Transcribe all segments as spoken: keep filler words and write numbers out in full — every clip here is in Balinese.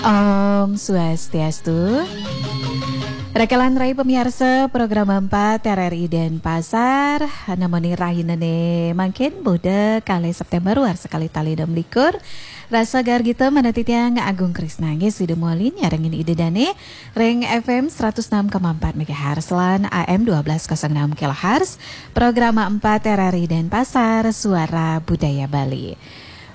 Om Swastiastu. Rakelan rai pamiarsa program empat R R I Denpasar, namoni rahinane mangkin Buda kalih September warsa kalih tali enam likur. Rasa gargita manah titiang Agung Krisna nggih sida mawali nyarengin Ida Dane ring F M seratus enam koma empat megahertz lan A M dua belas kosong enam kilohertz. Program empat R R I Denpasar, Suara Budaya Bali.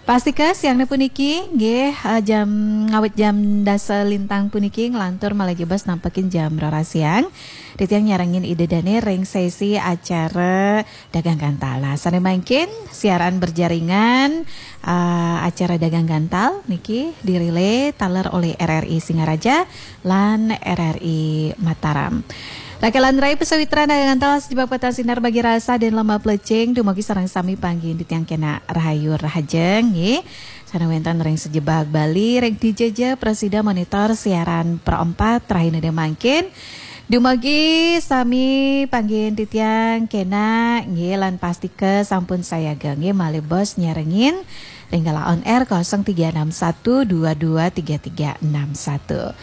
Pastika siangnya puniki nggih, eh, jam ngawit jam dasa lintang puniki nglantur malih jebos nampekin jam roras siang. Titiang nyarengin Ida Dane ring sesi acara Dagang Gantal. Nah, sane mangkin siaran berjaringan, eh, acara Dagang Gantal niki dirilai taler oleh R R I Singaraja lan R R I Mataram. Rakelan rai pasawitran Dagang Gantal sajebag patan sinar bagi rasa dan lembah plecing, dumugi sareng sami panggihin titiang kena rahayu rahajeng nggih. Sane wenten ring sajebag Bali, ring D J J Prasida monitor siaran Pro empat rahina mangkin. Dumugi sami panggihin titiang kena nggih lan pastika sampun sayaga nggih malih bos nyarengin ring galah on air kosong tiga enam satu dua dua tiga tiga enam satu.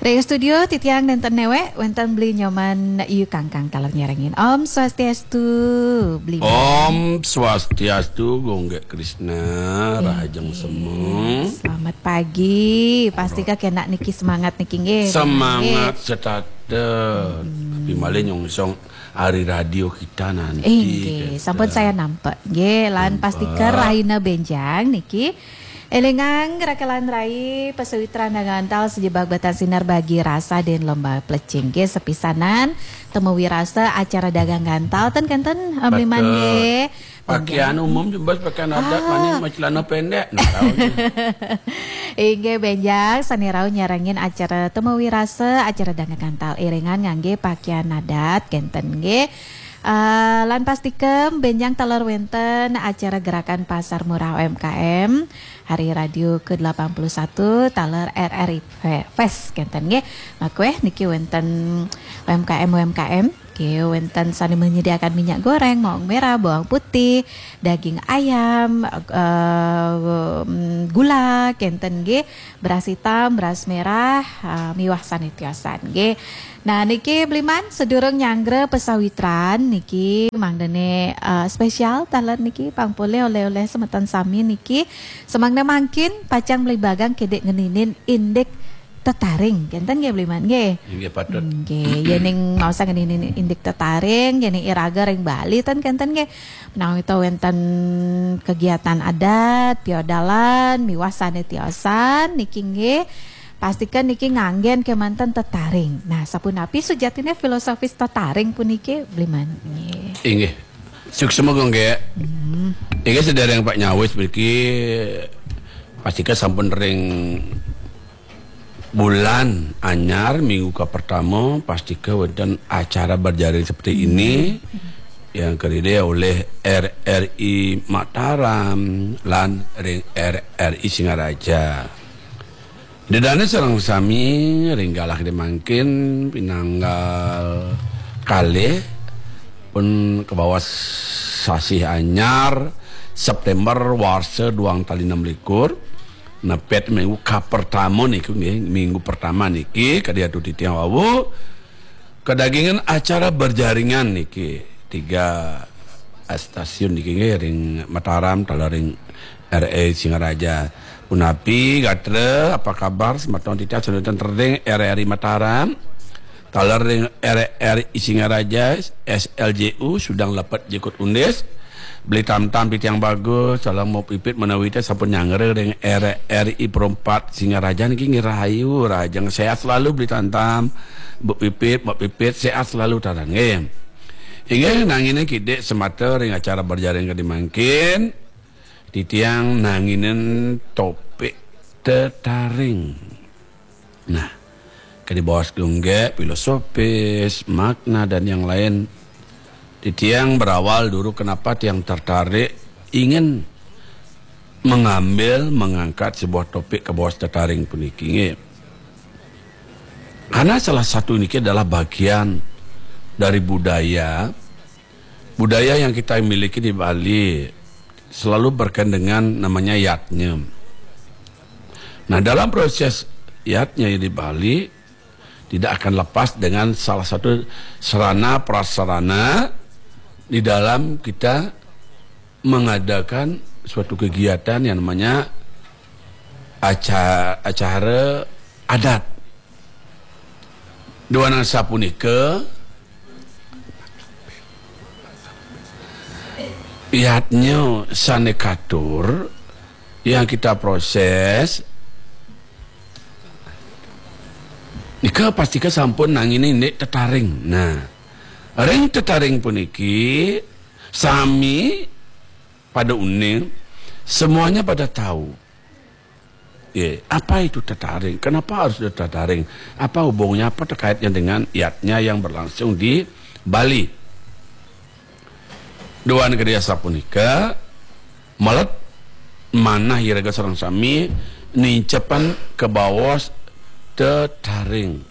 Ring studio titiang nenten newek, wenten Beli Nyoman Yu Kangkang taler nyarengin. Om Swastiastu, Beli. Om Swastiastu, Gunggek Krisna, rahajeng semeng. Selamat pagi. Pastika kena niki semangat niki nggih. Semangat setata. Tapi malih nyongsong ari radio kita nanti. Inggih, sampun saya nampak. Nggih, lan pastika rahina benjang niki. Elingang rakelan rai pasawitran Dagang Gantal sajebag patan sinar bagi rasa dan lembah plecing nggih sepisanan temu wirasa acara Dagang Gantal ten kenten, eh, Beli Man nggih. Pakaian umum jebos pakaian adat, ah, maning macelana pendek. Nah, tahu nih. Inggih benjang sane rauh nyarengin acara temu wirasa, acara Dagang Gantal iringan ngangge pakaian adat kenten nggih. Eh, lan pastika benjang taler wenten acara gerakan pasar murah U M K M hari radio ke delapan puluh satu taler R R I Fe-, Fest kenten nggih. Makweh niki wenten U M K M U M K M nggih, wenten sane menyediakan minyak goreng, bawang merah, bawang putih, daging ayam, eh, mm, gula kenten nggih, beras hitam, beras merah, eh, miwah sane tiosan nggih. Nah, niki Beli Man, sedurung nyanggra pasawitran niki mangdane, eh, spesial taler niki pang polih oleh-oleh semeton sami niki. Semangda mangkin pacang Beli Bagang kidik ngeninin indik tetaring. Kenten nggih Beli Man nggih? Inggih patut. Nggih, yening maosang ngeninin indik tetaring, yening iraga ring Bali ten kenten nggih. Menawi to wenten kegiatan adat, piodalan, miwah sane tiosan niki nggih. Pastika niki nganggen kemanten tetaring. Nah, sapunapi sujatine filosofis tetaring puniki, Beli Man? Nggih. Inggih. Suksma, Gung, nggih. Hmm. Inggih, sedereng Pak nyawis mriki pastika sampun ring bulan anyar, minggu ke pertama, pastika wonten acara berjaring seperti ini yang kediri oleh R R I Mataram lan ring R R I Singaraja. Dedane sareng sami ring galah gede mangkin pinanggal kalih pun kebawa sasih anyar September warsa duang tali enam likur, nepet minggu kapertama niku nggih, minggu pertama niki kadi atu titiang wau kedagingan acara berjaringan niki tiga stasiun niki nggih ring Mataram taler ring R R I Singaraja. Punapi gatra, apa kabar semeton titiang semeton ring R R I Mataram? Taler ring R R I Singaraja, S L J U, Sudang Lepet Jukut Undis. Beli Tamtam titiang bagus, salam Mbok Pipit menawi teh sampun nyanggra ring R R I Perempat Singaraja niki nggih rahayu, rahajeng sehat selalu Beli Tamtam. Mbok Pipit, Mbok Pipit sehat selalu taran nggih. Inggih nangine kidik semata ring acara berjaring kadi mangkin. Titiang nanginen topik tetaring. Nah, kadi baos Gunggek, filosofis, makna dan yang lain. Titiang berawal dulu kenapa tiang tertarik ingin mengambil, mengangkat sebuah topik ke baos tetaring puniki nggih. Karena salah satu niki adalah bagian dari budaya. Budaya yang kita miliki di Bali selalu berkaitan dengan namanya yadnya. Nah, dalam proses Yatnya di Bali tidak akan lepas dengan salah satu sarana prasarana di dalam kita mengadakan suatu kegiatan yang namanya aca-, acara adat. Duaning sapunika, yatnya sane katur yang kita proses nika pastika sampun nanggining indik tetaring. Nah, ring tetaring puniki sami pada uning, semuanya pada tahu. Ya, apa itu tetaring? Kenapa harus ada tetaring? Apa hubungnya, apa terkaitnya dengan yatnya yang berlangsung di Bali? Duaning kadi asapunika, melet manah iraga sareng sami nincepan kabaos tetaring.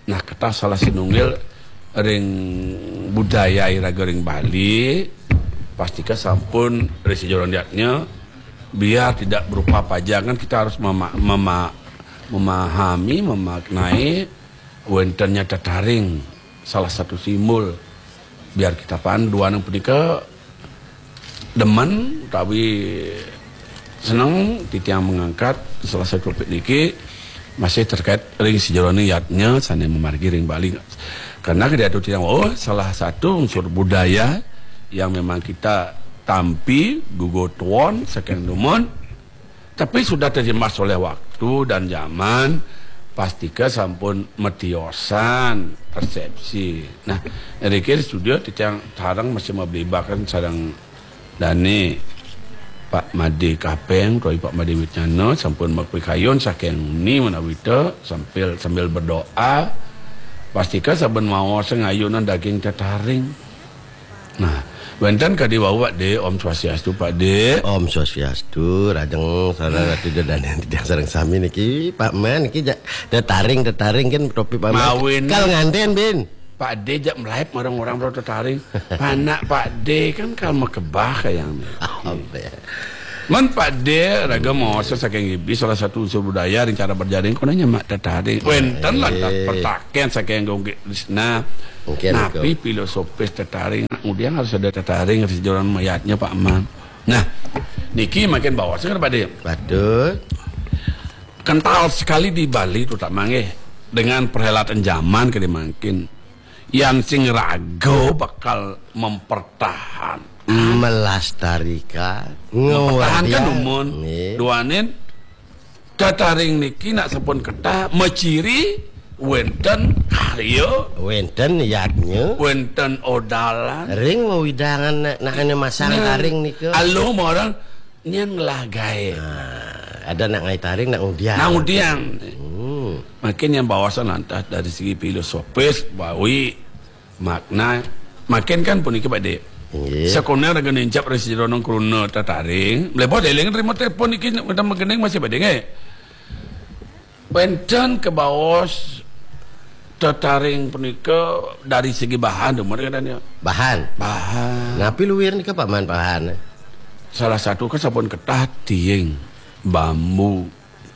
Nah, ketah salah sinunggil ring budaya iraga ring Bali, pastika sampun ring sajeroning yatnya, biar tidak berupa pajangan, kita harus mema-, mema-, memahami, memaknai wentennya tetaring, salah satu simbol. Biar kita pan duaning punika demen utawi seneng titiang mengangkat salah satu topik niki masih terkait ring sajeroning yatnya sane mamargi ring Bali. Karena kadi atur titiang, oh, salah satu unsur budaya yang memang kita tampi, gugu tuon, saking dumun, tapi sudah terjemas oleh waktu dan zaman, pastika sampun matiosan persepsi. Nah, iriki studio titiang sareng masih mablibakan sareng dane Pak Made Kapeng, utawi Pak Made Widnyana sampun mapikayun saking ni menawi ta sambil, sambil berdoa. Pastika saben maos ngayunan daging tetaring. Nah, wenten kadi wau, Pak De, Om Swastiastu, Pak De. Om Swastiastu, rajeng sareng Ratu Ida Dane titiang sareng sami niki, Pak Man niki ja-, tetaring, tetaring kan topik Pak Man. Mawin. Kal nganten, Bin. Pak De jak melaib marang orang bro tetaring. Panak Pak De kan kal makebah kayang. Apa ya? Man Pak De raga maos saking ibi salah satu unsur budaya ring cara berjaring kono nyemak tetaring. Wenten lantas pertaken saking Gung Krisna. Mungkin napi filosofis tetaring? Ngudiang harus ada tetaring ring sajeroning yatnya, Pak Man. Nah, niki makin baos kan, Pak De. Patut. Kental sekali di Bali, terutama nggih, dengan perhelatan zaman kadi mangkin. Yan sing raga bakal mempertahan, melestarikan, mempertahankan ngweruh. Dumun. Nggih. Duaning tetaring niki nak sampun ketah maciri wenten karya, wenten yatnya, wenten odalan. Ring wewidangan nak, nak ane masang, nah, taring nika. Aluh marang nyen ngelah gae. Nah, ada nak ngae taring, nak ngudiang. Nak ngudiang. Hmm. Makin yang bawasan lantas dari segi filosofis, bawi, makna, makin kan puniki, Pak De. Nggih. Sakoner raga nincap ring sajeroning kruna tetaring, mlebet eling terima telepon niki, udah magending masih, Pak De, nggih. Wenten kabaos tetaring punika dari segi bahan, dumun kadang ya. Bahan. Bahan. Napi luir nika, Pak Man, bahan? Salah satu kan sampun ketah tiing, bambu.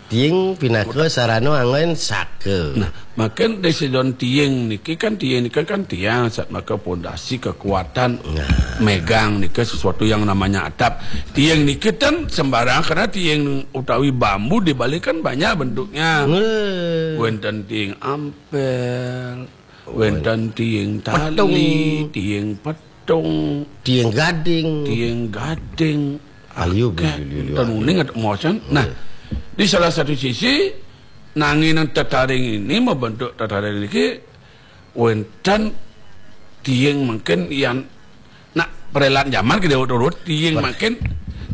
Tiing pinaka sarana anggon saka. Nah, makin ring sajeroning tiing niki kan, tiing niki kan tiang, satmaka pondasi kekuatan. Nah. Megang nika sesuatu yang namanya atap. Tiing niki ten sembarang, karena tiing utawi bambu di Bali kan banyak bentuknya. Nggih. Wenten tiing ampel, wenten tiing tali, petung, tiing petung, tiing gading, tiing gading. Ayu, akeh, beli-beli, ten ayu. Uning atau mosen. Nah, nggih, di salah satu sisi, nanging tetaring ini, membentuk tetaring niki, wenten tiing mungkin yang nak perelan zaman ke urut-urut, tiing mungkin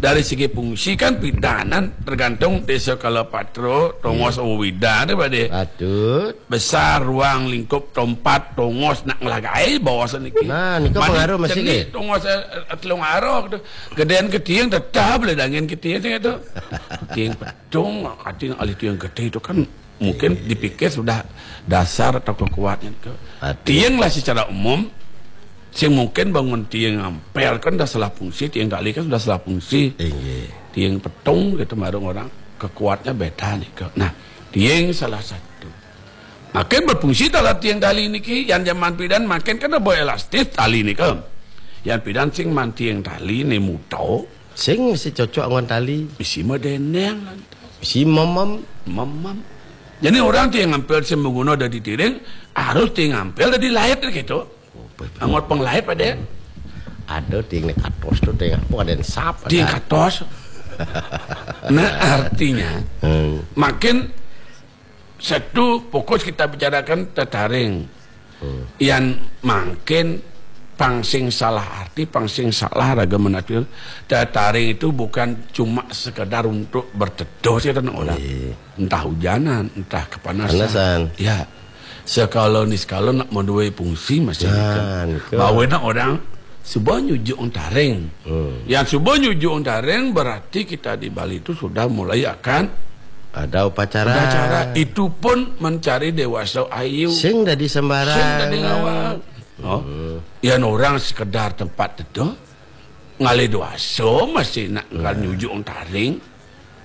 dari segi fungsi kan pidanan tergantung desa kala patra, tongos, hmm, wida, deh, Pak De. Patut. Besar, ruang lingkup, tempat, tongos, nak ngelah gae bawasan niki. Nah, nika pengaruh masih, nggih. Tongos, eh, eh, telung arok tu. Gedean ke tiing tetap le dangin ke tiing tu. Tiing petung, kating alih tiing gede tu kan mungkin, iya, dipikir sudah dasar atau kekuatan ke. Patut. Tiing lah secara umum, sing mungkin bangun tiing ampel kan dah salah fungsi, tiing tali kan sudah salah fungsi. Iya. Tiing petung gitu marang orang, kekuatnya beda nika. Nah, Tiing salah satu. Makin berfungsi taler tiing tali niki, yan jaman pidan makin kada berelastis tali nika. Yan pidan sing maan tiing tali né muto. Sing mesti cocok anggon tali. Bisi madénéng lantas. Bisi mamam. Mamam. Jadi orang tiing ampil sing manguna dadi tiring, harus tiing ampil dadi lait gitu. Anggot penglait pada. Ada tiing né katos tuh, tiing apa ada yang sap. Tiing ada. Katos. Nah, artinya, hmm, makin satu fokus kita bicarakan tetaring. Hmm. Yan makin pang sing salah arti, pang sing salah raga menafsir. Tetaring itu bukan cuma sekedar untuk berteduh sih, kan, orang. Iya. Entah hujanan, entah kepanasan. Panasan. Ya. Sekala niskala nak madué fungsi masih. Nah, gitu. Bawa nak orang suba nyujuk taring. Hmm. Yang suba nyujuk taring berarti kita di Bali itu sudah mulai akan ada upacara. Upacara. Itu pun mencari dewasa ayu. Sing dadi sembarang. Sing dadi ngawal. Oh. Hmm. Yan orang sekedar tempat teduh, ngalih dewasa masih nak, nah, nyujuk taring.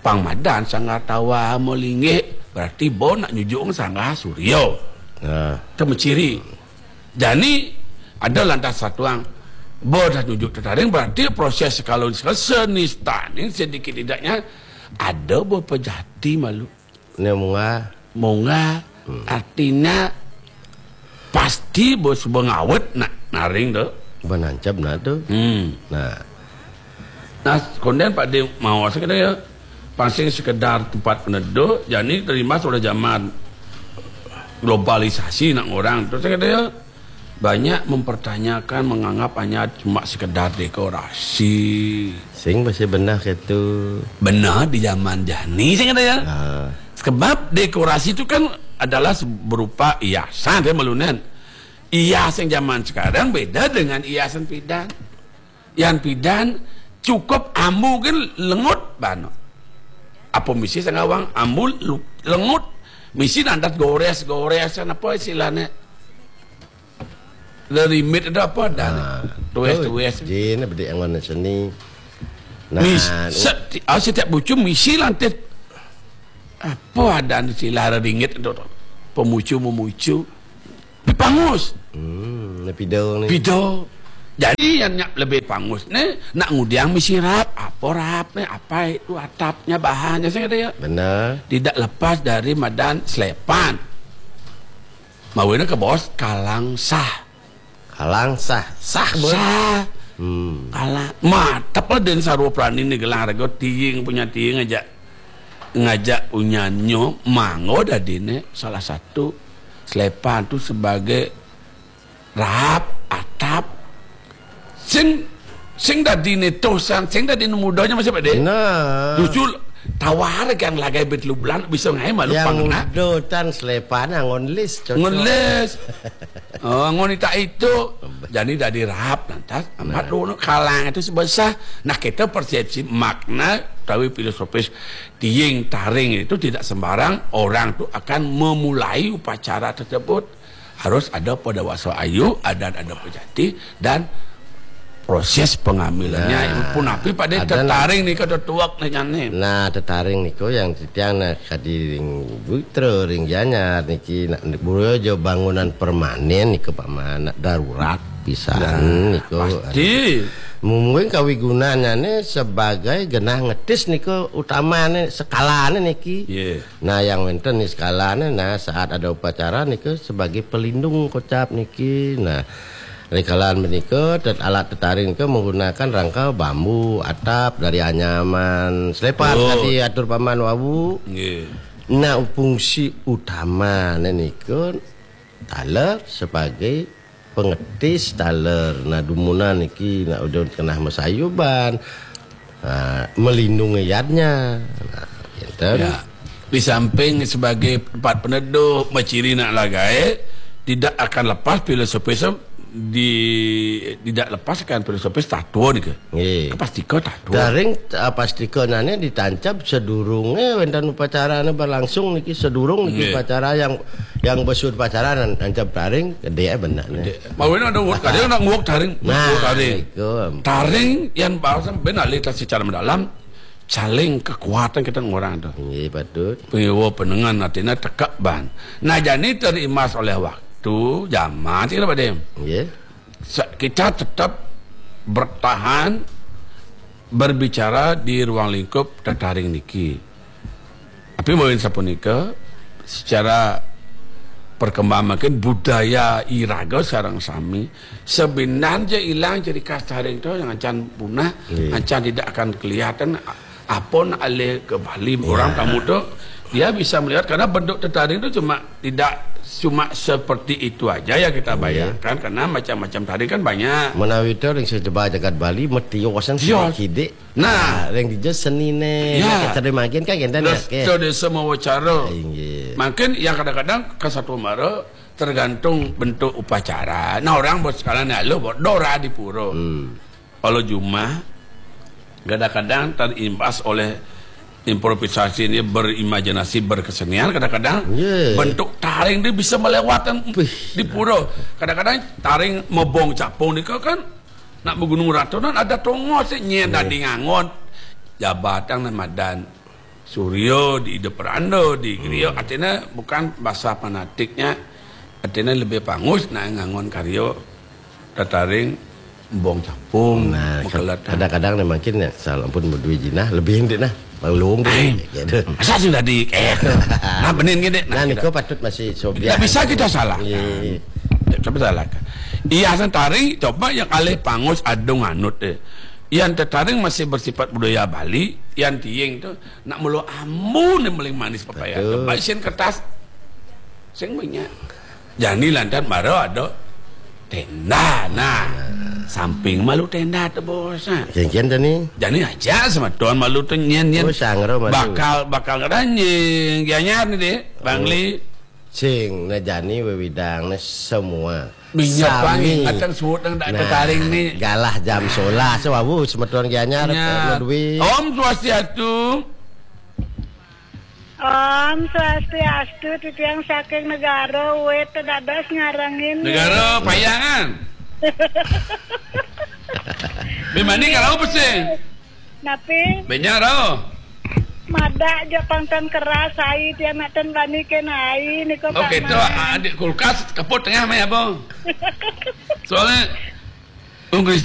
Pang madan sanggar tawa malinggih, berarti bo nak nyujuk sanggar surya. Nah. Itu menciri. Jani ada lantas satuang. Bo dah nyujuk tetaring, berarti proses kalau senistaning sedikit tidaknya ada bo pejati malu. Né munggah. Munggah. Hmm. Artinya pasti bo suba ngawet nak naring tu. Banancap nah tu. Hmm. Nah. Nah, kondén Pak Dé mau sekadar ya. Pang sing sekedar tempat peneduh, jani terimbas oleh zaman globalisasi nak orang. Terus sekadar ya, banyak mempertanyakan, menganggap hanya cuma sekedar dekorasi. Sing masih benar gitu. Benar di zaman jani, sing ada ya. Ah. Sebab dekorasi itu kan adalah se-, berupa hiasan, kan, malunan. Hiasan zaman sekarang beda dengan hiasan pidan. Yan pidan cukup ambu kan lengut bana. Apa misi sangawang ambu lu-, lengut. Misi nandat gores-goresan apa istilahnya. Rerimit ada apa dah. Nah, tuwes-tuwes. Jin, bedi anggon seni. Nah, mis-, seti-, ah, setiap bucu misi lantit. Apa ada istilah reringit itu tu? Pemucu-memucu. Pangus. Hmm, né pida né. Pida. Jadi yang nyak lebih pangus né, nak ngudiang misi rap, apa rap né, apa itu atapnya, bahannya, saya kata ya. Benar. Tidak lepas dari madan selepan. Mawina ke bos kalang sah. Kalang sah, sah, bos. Sah. Hmm. Kalang. Matep lah dan sarwa prani né gelang rego tiing punya tiing ngajak, ngajak punyanyo manggo dadi né salah satu selepan tu sebagai rap, atap. Sing, sing dadi né tosan, sing dadi né mudonya masih pada. Nah. Justru tawar kan lagai bet lublan bisa ngai malu yang pang nak. Mudo tan selepan anggon lis cocok. Anggon lis. Oh, anggon itak itu. Jadi dadi rap lantas. Amat nah. Lu kalang itu sebesar. Nah, kita persepsi makna tapi filosofis tiing taring itu tidak sembarang orang tu akan memulai upacara tersebut. Harus ada pada wasa ayu, ada ada pejati dan proses pengambilannya. Nah, pun api pada ada tetaring nih kada tuak nih nyane. Nah, tetaring niku yang titiang nak kadi ring Butra, ring Gianyar niki nak burojo bangunan permanen niku paman nak darurat pisan. Nah, niku pasti. Mungkin kawigunannya sebagai genah ngetis niku utamane sekalane niki. Yeah. Nah, yang wénten nih sekalane, nah, saat ada upacara niku sebagai pelindung kocap niki. Nah, rikalan menika tet-, alat tetaring niku menggunakan rangka bambu, atap dari anyaman, selepan. Oh. Tadi atur paman wawu. Nggih. Nah, fungsi utamane niku taler sebagai pengetis taler. Nah, dumunan niki nak udah kenah masayuban. Nah, melindungi yadnya. Nah, enten. Ya. Di samping sebagai tempat peneduh, maciri nak lagai, tidak akan lepas filosofis di, tidak lepas akan filosofis tatua nika. Nggih. Pasti kau tatua. Daring, ah, pasti kau nanya ditancap sedurunge wénten upacarane berlangsung niki, sedurung niki. Nggih. Upacara yang, yang besu upacara nan-, nancap daring gede benar nih. Gede. Mawin ada word kadang nak nguak taring, nah, nguak taring. Itu. Taring yang bahasa ben alih secara mendalam saling kekuatan kita ngorang tu. Nggih, patut. Pengiwa penengan artinya tekak ban. Nah, jani terimbas oleh waktu, zaman, sih, Pak Dim. Nggih. Sa-, kita tetap bertahan berbicara di ruang lingkup tetaring niki. Tapi mawin sapunika, secara perkembangan mungkin budaya iraga sareng sami, sebenarnya ilang ciri khas taring tu yang acan punah, Nggih. acan tidak akan kelihatan apa nak alih ke Bali. Ya. Orang tamu tu, dia bisa melihat karena bentuk tetaring tu cuma, tidak cuma seperti itu aja ya kita Iya. bayangkan, karena macam-macam taring kan banyak. Menawi tu ring sejeba jagat Bali, metiusan Tios. Sidik. Nah. Nah, ring dija seni ne. Ya. Nek tadi makin kan kenten ya, Terus ke? Tu desa mawacara. Inggih. Mungkin yang kadang-kadang ke satu mara tergantung bentuk upacara. Nah, orang buat sekarang ni, lo buat dora di pura. Hmm. Kalau jumah, kadang-kadang terimbas oleh improvisasi ni, berimajinasi, berkesenian, kadang-kadang Ya. bentuk taring dia bisa melewatkan Wih. di pura. Kadang-kadang taring mebong capung ni kan nak bergunung ratu nan ada tongos nyen Ya. dadi ngangon. Jabatang nan madan. Suryo di Ida Peranda, di Griya. Hmm. Artinya bukan bahasa fanatiknya, artinya lebih pangus nak ngangon karya tetaring embong capung, Nah, makelatan. kadang-kadang ni mungkin ya, salah pun berdua jinah, lebih indik nah. Bang Lung tu, Ai. gitu. Masa sih tadi, eh, nah, benin gini, Nah, nah, niko kita patut masih sobian. Tidak bisa kita salahkan. Iya. Tidak bisa salahkan. Iya, sentari, coba yang alih pangus adung anut deh. Yang tetaring masih bersifat budaya Bali, yang tiing tu, nak mulu ambu ni paling manis pepaya. Betul. Coba isin kertas. Sing banyak. Jani lantan mara ada tenda. Nah, samping malu tenda tu, bos. Nah. Kian-kian tani. Jani aja semeton malu tu nyen-nyen. Oh, sangro malu. Bakal, bakal ada nying. Gianyar ni deh, Bang Oh. Li. Sing, nah jani wewidang, nah semua. Minyak Sami. Wangi, ngatan suut nang tak Nah, ketaring ni. Galah jam solas, wawu, semeton Gianyar, Gianyar. Pak Ludwi. Om Swastiastu. Om Swastiastu, titiang saking negara, wit dados ngarengin. Negara Payangan. Bimani kalau pesing. Napi? Benyang rau. Madak ja pangtan keras, ai, tiang nak ten bani ken ai, niko Pak Oke, tu Man. Adik kulkas keput tengah mai apa? Soalnya Ung Krisna